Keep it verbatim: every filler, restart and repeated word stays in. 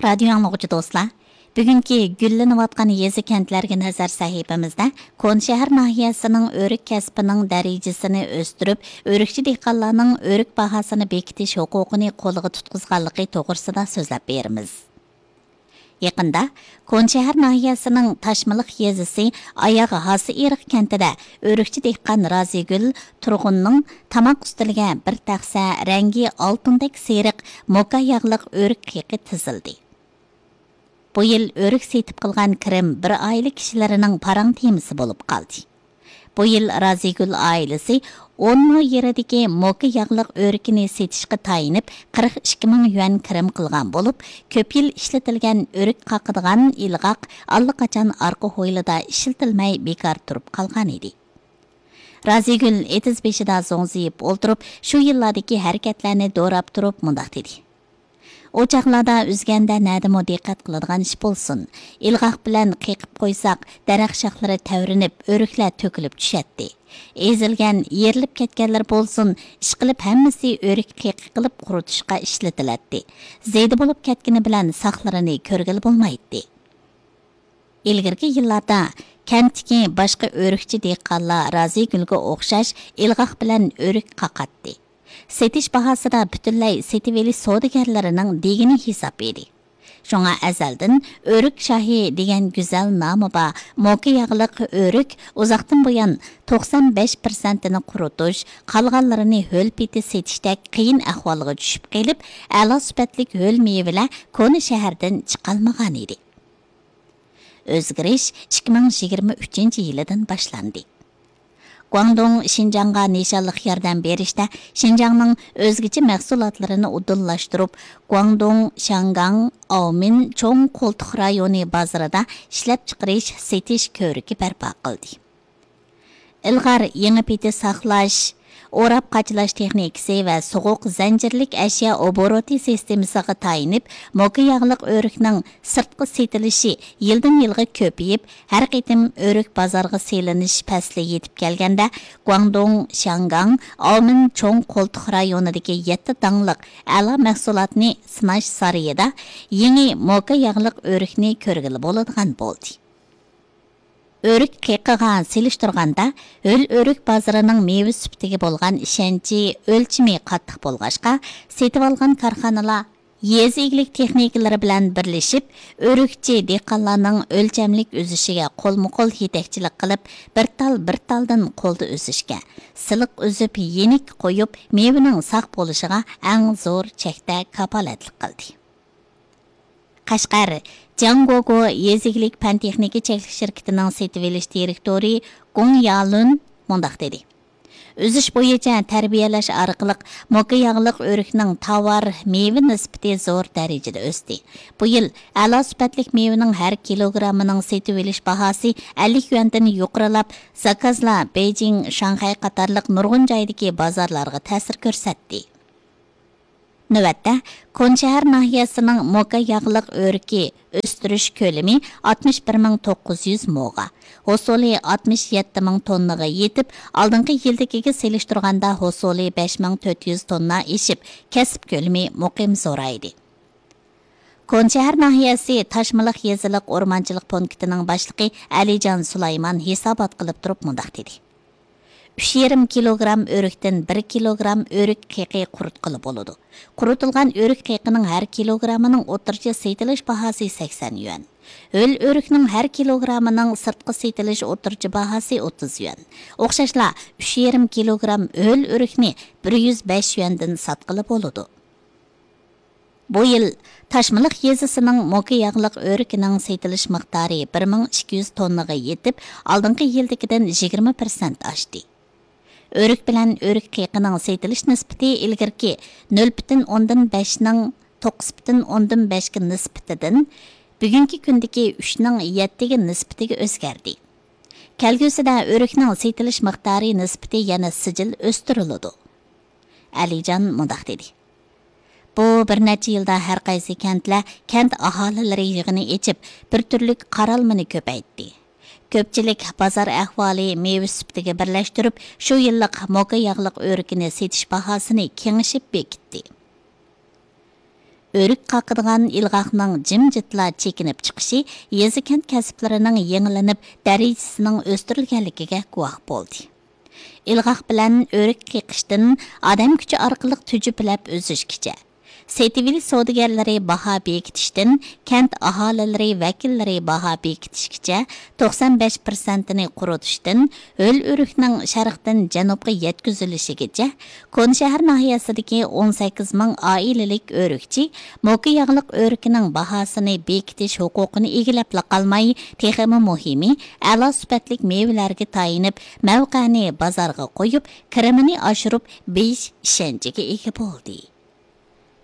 رادىيو ئاڭلىغۇچى دوستلار، بۈگۈنكى گۈللىنىۋاتقان يېزا، كەنتلەرگە نەزەر سەھىپىمىزدە كونا شەھەر ناھىيەسىنىڭ ئۆرۈك كەسپىنىڭ دەرىجىسىنى ئۆستۈرۈپ، ئۆرۈكچى دېھقانلارنىڭ ئۆرۈك باھاسىنى بېكىتىش ھوقۇقىنى قولىغا تۇتقۇزغانلىقى توغرىسىدا سۆزلەپ بېرىمىز. يېقىندا كونا شەھەر ناھىيەسىنىڭ تاشمىلىق يېزىسى ئاياغ ھاسا ئېرىق كەنتىدە ئۆرۈكچى دېھقان رازىگۈل تۇرغۇننىڭ تاماق ئۈستىلىگە بىر تەخسە رەڭگى ئالتۇندەك سېرىق موكا ياغلىق ئۆرۈك قېقى تىزىلدى. بۇ يىل ئۆرۈك سېتىپ قىلغان كىرىم بىر ئائىلە كىشىلىرىنىڭ پاراڭ تېمىسى بولۇپ قالدى. بۇ يىل رازىگۈل ئائىلىسى ئون مو يېرىدىكى موكا ياغلىق ئۆرۈكىنى سېتىشقا تايىنىپ، قىرىق ئىككى مىڭ يۈەن كىرىم قىلغان بولۇپ، كۆپ يىل ئىشلىتىلگەن ئۆرۈك قاقىدىغان ئىلغاق ئاللىقاچان ئارقا ھويلىدا ئىشلىتىلمەي بىكار تۇرۇپ قالغان ئىدى. رازىگۈل ئېتىز بېشىدا زوڭزىيىپ ئولتۇرۇپ، شۇ يىللاردىكى ھەرىكەتلەرنى دوراپ تۇرۇپ مۇنداق دېدى: ئۇ چاغلاردا ئۈزگەندە نەدىمۇ دىققەت قىلىدىغان ئىش بولسۇن، ئىلغاق بىلەن قېقىپ قويساق، دەرەخ شاخلىرى تەۋرىنىپ، ئۆرۈكلەر تۆكۈلۈپ چۈشەتتى. ئېزىلگەن، يېرىلىپ كەتكەنلىرى بولسۇن، ئىشقىلىپ ھەممىسى ئۆرۈك قېقى قىلىپ قۇرۇتۇشقا ئىشلىتىلەتتى. زېدە بولۇپ كەتكىنى بىلەن ساقلىرىنى كۆرگىلى بولمايتتى. ئىلگىرىكى يىللاردا كەنتتىكى باشقا ئۆرۈكچى دېھقانلار رازىگۈلگە ئوخشاش ئىلغاق بىلەن ئۆرۈك قاقاتتى. سېتىش باھاسىدا پۈتۈنلەي سېتىۋېلىش سودىگەرلىرىنىڭ دېگىنى ھېساب ئىدى. شۇڭا ئەزەلدىن ئۆرۈك شاھى دېگەن گۈزەل نامى بار موكا ياغلىق ئۆرۈك ئۇزاقتىن بۇيان توقسان بەش پىرسەنتىنى قۇرۇتۇش، قالغانلىرىنى ھۆل پېتى سېتىشتەك قىيىن ئەھۋالغا چۈشۈپ قېلىپ، ئەلا سۈپەتلىك ھۆل مېۋىلەر كونا شەھەردىن چىقالمىغانىدى. ئۆزگىرىش ئىككى مىڭ يىگىرمە ئۈچىنچى يىلىدىن باشلاندى. گۇاڭدۇڭ شىنجاڭغا نىشانلىق ياردەم بېرىشتە شىنجاڭنىڭ ئۆزگىچە مەھسۇلاتلىرىنى ئۇدۇللاشتۇرۇپ، گۇاڭدۇڭ، شياڭگاڭ، ئاۋمېن چوڭ قولتۇق رايونى بازىرىدا ئىشلەپچىقىرىش، سېتىش كۆرۈكى بەرپا قىلدى. ئىلغار يېڭى پېتى ساقلاش، ئوراپ قاچىلاش تېخنىكىسى ۋە سوغۇق زەنجىرلىك ئەشيا ئوبوروتى سىستېمىسىغا تايىنىپ، موكا ياغلىق ئۆرۈكنىڭ سىرتقا سېتىلىشى يىلدىن يىلغا كۆپىيىپ، ھەر قېتىم ئۆرۈك بازارغا سېلىنىش پەسلى يېتىپ كەلگەندە، گۇاڭدۇڭ، شياڭگاڭ، ئاۋمېن چوڭ قولتۇق رايونىدىكى يەتتە داڭلىق ئەلا مەھسۇلاتنى سىناش سارىيىدا يېڭى موكا ياغلىق ئۆرۈكنى كۆرگىلى بولىدىغان بولدى. ئۆرۈك قېقىغا سېلىشتۇرغاندا، ھۆل ئۆرۈك بازىرىنىڭ مېۋە سۈپىتىگە بولغان ئىشەنچى ئۆلچىمى قاتتىق بولغاچقا، سېتىۋالغان كارخانىلار يېزا ئىگىلىك تېخنىكلىرى بىلەن بىرلىشىپ، ئۆرۈكچى دېھقانلارنىڭ ئۆلچەملىك ئۈزۈشىگە قولمۇقول يېتەكچىلىك قىلىپ، بىر تال بىر تالدىن قولدا ئۈزۈشكە، سىلىق ئۈزۈپ، يېنىك قويۇپ، مېۋىنىڭ ساق بولۇشىغا ئەڭ زور چەكتە كاپالەتلىك قىلدى. قەشقەر جياڭگوگو يېزا ئىگىلىك پەن تېخنىكا چەكلىك شىركىتىنىڭ سېتىۋېلىش دىرېكتورى گۇڭ يالۈن مۇنداق دېدى: ئۈزۈش بويىچە تەربىيەلەش ئارقىلىق موكا ياغلىق ئۆرۈكنىڭ تاۋار مېۋە نىسبىتى زور دەرىجىدە ئۆستى. بۇ يىل ئەلا سۈپەتلىك مېۋىنىڭ ھەر كىلوگراممىنىڭ سېتىۋېلىش باھاسى ئەللىك يۈەندىن يۇقىرىلاپ، زاكازلار بېيجىڭ، شاڭخەي قاتارلىق نۇرغۇن جايدىكى بازارلارغا تەسىر كۆرسەتتى. نۆۋەتتە، كونا شەھەر ناھىيەسىنىڭ موكا ياغلىق ئۆرۈكى ئۆستۈرۈش كۆلىمى ئاتمىش بىر مىڭ توققۇز يۈز موغا، ھوسۇلى ئاتمىش يەتتە مىڭ توننىغا يېتىپ، ئالدىنقى يىلدىكىگە سېلىشتۇرغاندا ھوسۇلى بەش مىڭ تۆت يۈز توننا ئېشىپ، كەسىپ كۆلىمى مۇقىم زورايدى. كونا شەھەر ناھىيەسى تاشمىلىق يېزىلىق ئورمانچىلىق پونكىتىنىڭ باشلىقى ئەلىجان سۇلايمان ھېسابات قىلىپ تۇرۇپ مۇنداق دېدى: ئۈچ يېرىم كىلوگرام ئۆرۈكتىن بىر كىلوگرام ئۆرۈك قېقى قۇرۇتقىلى بولىدۇ. قۇرۇتۇلغان ئۆرۈك قېقىنىڭ ھەر كىلوگرامىنىڭ ئوتتۇرىچە سېتىلىش باھاسى سەكسەن يۈەن. ھۆل ئۆرۈكنىڭ ھەر كىلوگرامىنىڭ سىرتقا سېتىلىش ئوتتۇرىچە باھاسى ئوتتۇز يۈەن. ئوخشاشلا، ئۈچ يېرىم كىلوگرام ھۆل ئۆرۈكنى بىر يۈز بەش يۈەندىن ساتقىلى بولىدۇ. بۇ يىل تاشمىلىق يېزىسىنىڭ موكا ياغلىق ئۆرۈكىنىڭ سېتىلىش مىقدارى بىر مىڭ ئىككى يۈز توننىغا يېتىپ، ئالدىنقى يىلدىكىدىن يىگىرمە پىرسەنت ئاشتى. ئۆرۈك بىلەن ئۆرۈك قېقىنىڭ سېتىلىش نىسبىتى ئىلگىرىكى نۆل پۈتۈن ئوندىن بەشنىڭ توققۇز پۈتۈن ئوندىن بەشكە نىسبىتىدىن بۈگۈنكى كۈندىكى ئۈچنىڭ يەتتىگە نىسبىتىگە ئۆزگەردى. كەلگۈسىدە ئۆرۈكنىڭ سېتىلىش مىقدارى نىسبىتى يەنە سىجىل ئۆستۈرۈلىدۇ. ئەلىجان مۇنداق دېدى: بۇ بىر نەچچە يىلدا ھەر قايسى كەنتلەر كەنت ئاھالىلىرى يىغىنى ئېچىپ، بىر تۈرلۈك قارالمىنى كۆپەيتتى. كۆپچىلىك بازار ئەھۋالى مېۋە سۈپىتىگە بىرلەشتۈرۈپ، شۇ يىللىق موكا ياغلىق ئۆرۈكىنى سېتىش باھاسىنى كېڭىشىپ بېكىتتى. ئۆرۈك قاقىدىغان ئىلغاقنىڭ جىمجىتلا چېكىنىپ چىقىشى يېزا كەنت كەسىپلىرىنىڭ يېڭىلىنىپ، دەرىجىسىنىڭ ئۆستۈرۈلگەنلىكىگە گۇۋاھ بولدى. ئىلغاق بىلەن ئۆرۈك قېقىشتىن ئادەم كۈچى ئارقىلىق تۈجۈپىلەپ ئۈزۈشكىچە، سېتىۋېلىش سودىگەرلىرى باھا بېكىتىشتىن كەنت ئاھالىلىرى ۋەكىللىرى باھا بېكىتىشكىچە، توقسان بەش پىرسەنتىنى قۇرۇتۇشتىن ھۆل ئۆرۈكنىڭ شەرقتىن جەنۇبقا يەتكۈزۈلۈشىگىچە، كونا شەھەر ناھىيەسىدىكى ئون سەككىز مىڭ ئائىلىلىك ئۆرۈكچى موكا ياغلىق ئۆرۈكىنىڭ باھاسىنى بېكىتىش ھوقۇقىنى ئىگىلەپلا قالماي، تېخىمۇ مۇھىمى، ئەلا سۈپەتلىك مېۋىلەرگە تايىنىپ، مەۋقەنى بازارغا قويۇپ، كىرىمىنى ئاشۇرۇپ، بېيىش ئىشەنچىگە ئىگە بولدى.